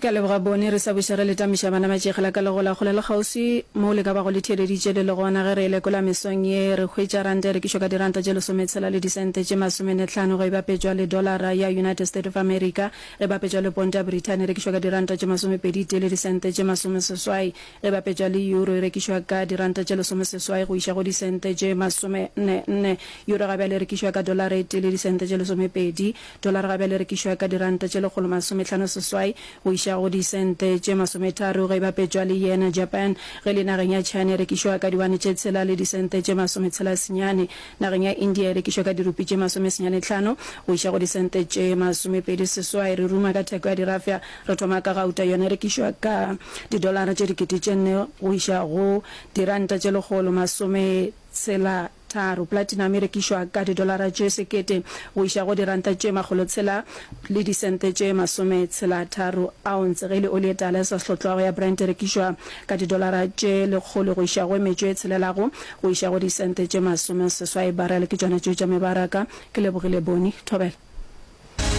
Ke a leboga Boni, re sa buša re le tamiša bana ba tšegela ka legola kgole le kgauswi moo le ka bago le theeleditše le le gona. Ge re e lekola mesong ye, re hwetša ranta e rekišwa ka diranta tše lesometshela le disente tše masomenetlhano ge e bapetšwa le dolara ya United State of America. Ge e bapetšwa le ponto ya Brithani e rekišwa ka diranta tše masomepedi tee le disente tše masomeseswai. Ge e bapetšwa le euro e rekišwa ka diranta tše lesomeseswai go iša go disente tše masomenne nne. Euro ga bjale e rekišwa ka dolara e tee le disente tše lesomepedi. Dolara ga bjale e rekišwa ka diranta tše 156 go iša go disente tše masometharo ge e bapetšwa le yen ya Japan. Ge e le nageng ya China e rekišwa ka diwane tše tshela le disente tše masometshela senyane. Nageng ya India e rekišwa ka dirupi tše masomesenyanetlhano go iša go disente tše masomepedi seswai. Re ruma ka theko ya dirafša, re thoma ka gauta, yona e rekišwa ka didolara tše dikete tše nne go iša go diranta tše 160. Tharo. Platinum e rekišwa ka didolara tše sekete go iša go diranta tše makgolotshela le disente tše masometshelatharo ounce. Ge e le oli e tala e sa hlotlwago ya Brent e rekišwa ka didolara tše lekgolo go iša go metšo e tshelelago go iša go disente tše masomeseswai barrel. Ke tšona tšeo tša mebaraka. Ke lebogile Boni. Thobela.